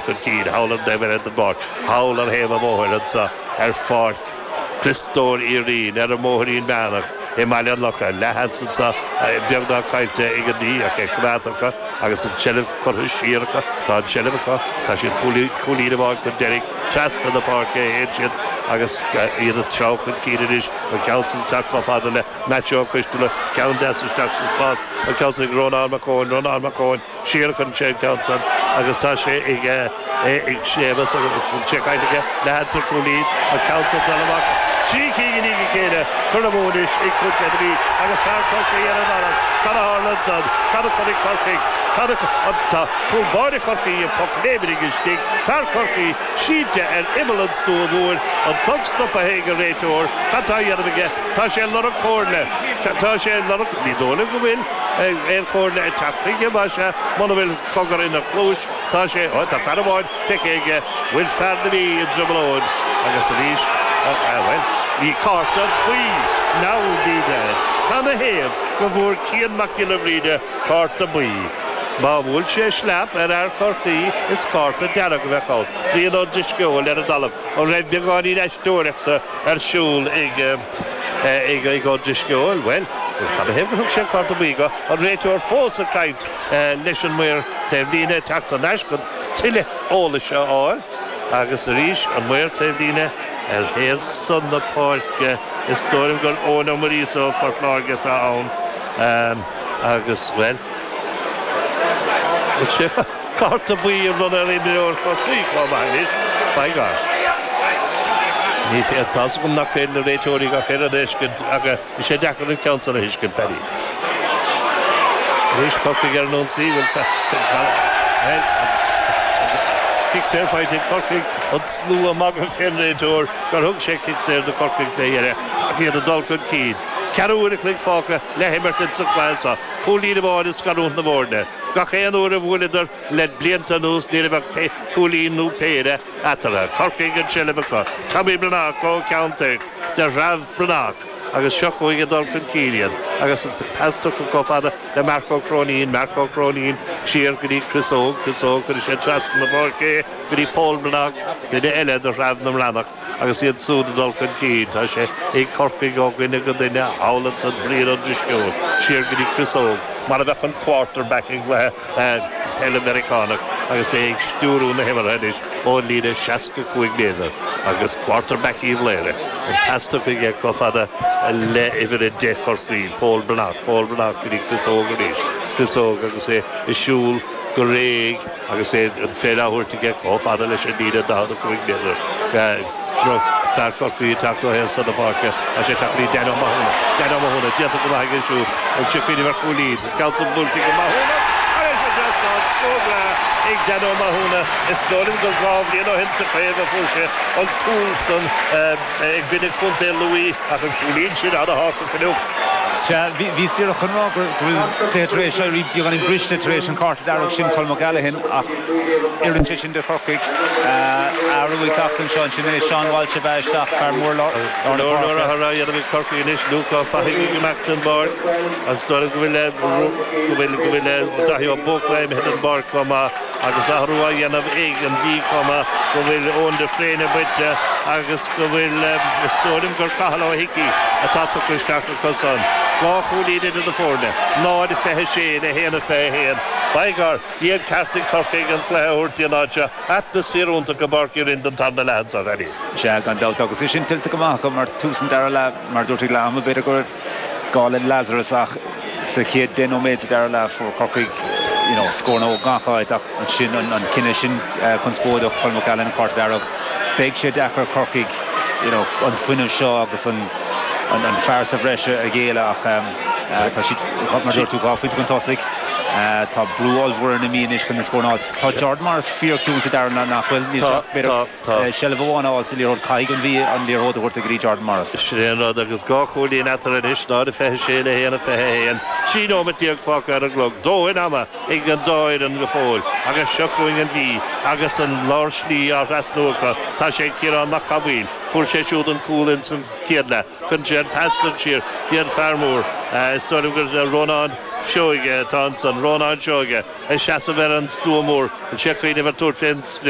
Chun cinn, thall ar an taobh eile den bpáirc, thall ar thaobh an bhóthair anseo ar Pháirc Chriostóir Uí Rinn, ar an mBóithrín Meánach i mBaile an Locha. Leathsheans anseo beagnach caillte ag an Mhí ach é coimeádta acu agus an tseilbh curtha siar acu. Tá an tseilbh acu, tá siad cúilín amháin chun deiridh, trasna na páirce a théann siad agus iad ag treabhadh chun cinn anois, an ceann san ag teacht chomh fada le Maitiú Ó Coisteala, ceann deas isteach sa spás, an ceann san ag Rónán Mac Eoin, Rónán Mac Eoin. Siar chun sé an ceann san agus tá sé ag ag Séamus agus an sé caillte aige leathsheans ar chúilín an ceann san dul amach. 3 cinn i ndiaidh a chéile curtha amú anois ag Contae na Mí agus fear Chorcaí ar an talamh. Cad a tharla ansan? Cad a chonaic Corcaigh? Cad a Tá cúl báire Chorcaí an poc léimnithe istigh. Fear Chorcaí sínte ar imeall an stua mhóir. An clog stoptha ag an réiteoir. Cad tá á dhéanamh aige? Tá sé ag lorg comhairle. Tá sé ag lorg, ní dóigh liom go bhfuil. Aon chomhairle ag teacht chuige, más ea, muna bhfuil cogar ina chluais, tá sé, ó, tá fear amháin feicthe aige, bhfuil fear na Mí i dTrioblóid agus arís, bhuel, ní cárta buí, now ní bhead. Canathaobh go bhfuair Cian Mac Giolla Bhríde cárta buí? Má bhuail sé sleap ar fhear Chorcaí, is cárta dearg a bheadh ann. Brian Ó Drisceoil ar an dtalamh. An raibh beagáinín aisteoireachta ar siúl ag. ag Ó Drisceoil, bhuel, canathaobh gur thug sé an cárta buí dó, an réiteoir fós ag caint leis an maor taobhlíne, ag teacht thar n-ais chun tuilleadh eolais a fháil agus arís an maor taobhlíne ar thaobh san na páirce, is dóigh liom gur Eoin Ó Muiríosa ó Phort Láirge atá ann agus, bhuel, bhfuil sé. Cárta buí a bhronnadh ar imreoir Chorcaí chomh maith anois, by God. Ní féidir, tá's agam nach féidir le réiteoirí gach aon rud a fheiscint ach is é deacair an ceann san a thuiscint, Paddy. Anois Corcaigh ar an ionsaí, bhuel, cic saor faighte ag Corcaigh, an slua ag magadh fén réiteoir gur thug sé cic saor do Chorcaigh fé dheireadh ach iad ag dul chun cinn. Ceathrú uair a chloig fágtha le himirt insa chluiche seo. Cúilín amháin ag scarúint na bhfoirne. Gach aon uair a bhuaileadar le blianta anuas ní raibh ach cúilín nó péire eatarthu. Corcaigh an tseilbh acu. Tommy Breathnach ó Cheann Toirc de threabh Breathnach agus seo chugainn ag dul chun cinn iad agus an pas tugtha chomh fada le Marc Ó Cróinín, Marc Ó Cróinín siar go dtí Chris Óg, Chris Óg cuireann sé trasna na páirce é go dtí Pól Breathnach, duine eile de threabh na mBreathnach. Agus iad súd ag dul chun cinn, tá sé ag Corcaigh ó dhuine go duine thall ansan, Brian Ó Drisceoil, siar go dtí Chris Óg, mar a bheadh an quarterback i gcluiche peile Meiriceánach agus é ag stiúrú na himeartha anois ón líne 65 méadar agus quarterback Uíbh Laoghaire, an pas tugtha aige chomh fada le uimhir 10 Chorcaí, Pól Breathnach, Pól Breathnach go dtí Chris Óg arís, Chris Óg agus é ag siúl go réidh. Agus é an pheil á thabhairt aige chomh fada leis an líne 45 méadar, fear Chorcaí ag teacht ó thaobh san na páirce, tá sé ag teacht go dtí Dan Ó Mathúna. Dan Ó Mathúna, déanta go maith aige siúd. An siocaín ar chúilín. Ceann san buailte ag Ó Mathúna. Thar éis an trasnán, scór breá ag Dan Ó Mathúna. Is dóigh liom gur 2 bhliain ó shin sa chraobh a fuair sé an cúl san i gcoinne Contae Lú ach an cúilín sin ana-thábhachtach inniu. Sea, bhíos díreach chun rá go bhfuil cluiche tar éis éirí beagáinín briste tar éis an cárta dearg sin Colm O'Callaghan ach oireann sé sin do Chorcaigh. Athrú ag teacht anseo ansin é Seán Walsh a bheith isteach, fear mór lár na Go leor leor páirce. athrú á dhéanamh ag Corcaigh anois, Luke Ó Fathaigh ag imeacht den bpáirc agus dóigh liom go bhfuil go bhfuil go bhfuil Daithí Ó Buachalla imithe den bpáirc chomh maith. Agus athrú á dhéanamh ag an Mhí chomh maith go bhfuil Eoin de Fréine bainte agus go bhfuil, is dóigh liom gur Cathal Ó hIcí atá tugtha isteach acu san. 2 chúilín idir na foirne, 0-26 le 1-21. By gar, bhí an ceart ag Corcaigh an cluiche a thabhairt dtí an áit seo. Atmaisféar iontach i bPáirc Uí Rinn don tarna leath anseo, a Phaddy. Sea, gan dabht, agus é sin tuillte go maith acu mar tús an dara leath, mar a dúirt ag leath ama, b'fhéidir go raibh gá le Lazarus ach sa chéad 10 nóiméad sa dara leath fuair Corcaigh you know scóranna ó gach áit ach ansin an cinneadh sin conspóideach, Colm O'Callaghan, cárta dearg. Beidh sé deacair ar Chorcaigh you know an fuinneamh seo agus an an fear sa bhreis a ghéilleadh ach tá siad, mar a dúirt tú, 2 phointe chun tosaigh. Tá brú ollmhór ar na Mí anois chun na scóranna a fháil. Tá Jordan Morris fíorchiúin sa dara leath nach bhfuil? Níl sé ach b'fhéidir Seilbh amháin a fháil sa liathróid. Caithfidh an Mhí an liathróid a thabhairt go dtí Jordan Morris. Sin é an rud agus 2 chúilín eatarthu anois, 0-26 le 1-21. 13 nóiméad fágtha ar an gclog. Dóthain ama ag an dá fhoireann go fóill agus seo chugainn an Mhí agus an lár slí á thrasnú acu. Tá sé ag Ciarán Mac Cathmhaoil. Fuair sé siúd an cúl ins an chéad leath. Cuireann sé an pas san siar go dtí an fear mór. Is dóigh liom gur Rónán. Seoige atá ansan, Rónán Seoige, ag seasamh ar an stua mór, an sé ag cuimhneamh ar tabhairt fén sprioc.